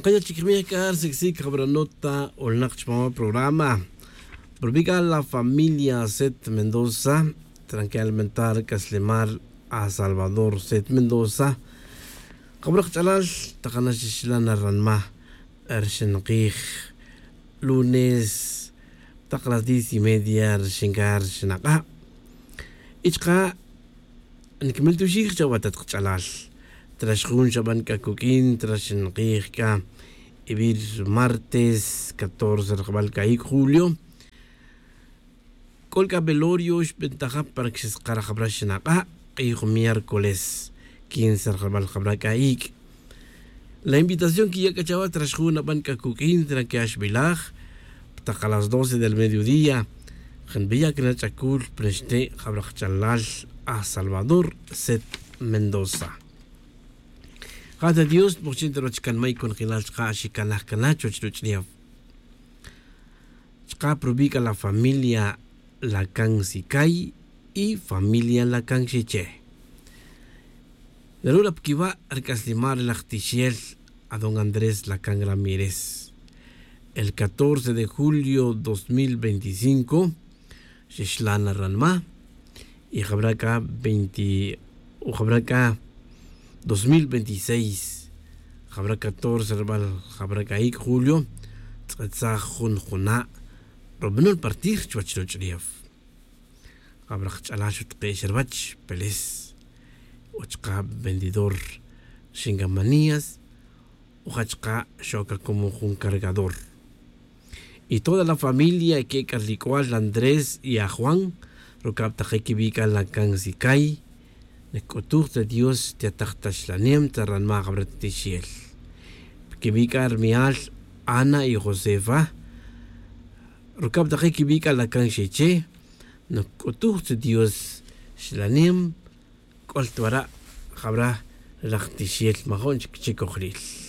Nqaya' chik rmej k'a rsik'sik jab'ranota olnäq chpan wa programa. Rub'i' la familia Set Mendoza, tranque alimentar k'aslemal a Salvador Set Mendoza. Qab'raq ch'alal taqana xixlan ranma rxinqij lunes taq las 10:30 rxingar xnaq'a'. Ichqa nkmiltuxij chawa tat qch'alal. Trax jun xab'an k'akuk'in trax nqij k'a ib'ir martes 14 raqb'al ka'ik julio. K'ol k'a velorio xb'entajab' para que xisqarajab'ra xnaq'a' q'ij miércoles 15 raqb'al qab'ra k'a'ik. La invitación que ya k'achawa trax jun ab'an k'akuk'in tra que axb'ilaj taq a las 12 del mediodía janb'iya kna ch'akul preste jab'raq chalal a Salvador Set Mendoza. Jata Dios mojchin taroch kan may kon khilal chqa xikanaj kana choch ruch'liaf. Chqa probika la familia Lacan Sikay y familia Lacan Xiche. Narura pkiwa rk'aslimar lajtixiel a don Andrés Lacan Ramírez. El 14 de julio 2025, Xixlana Ranma y Jabraca 20 o Jabraca 2026, Jabra 14 rbal Jabraca ik julio, Tz'etzaj jun juna, Robnul partir chuach rochriaf. Jabra ch'ala xutqe xerbach, Peles, Ochka vendedor Xingamanías, Ojachka xoca como un cargador. Y toda la familia que carlicual Andrés y a Juan, rokab taqekibika la kansikay, nekutuj de Dios te ataqtashlanem taranma gabratishiel. Kibika armial Ana y Josefa, rokab taqekibika la kanxiche, nekutuj de Dios shlanem, koltuara jabra raqtishiel majon chikojril.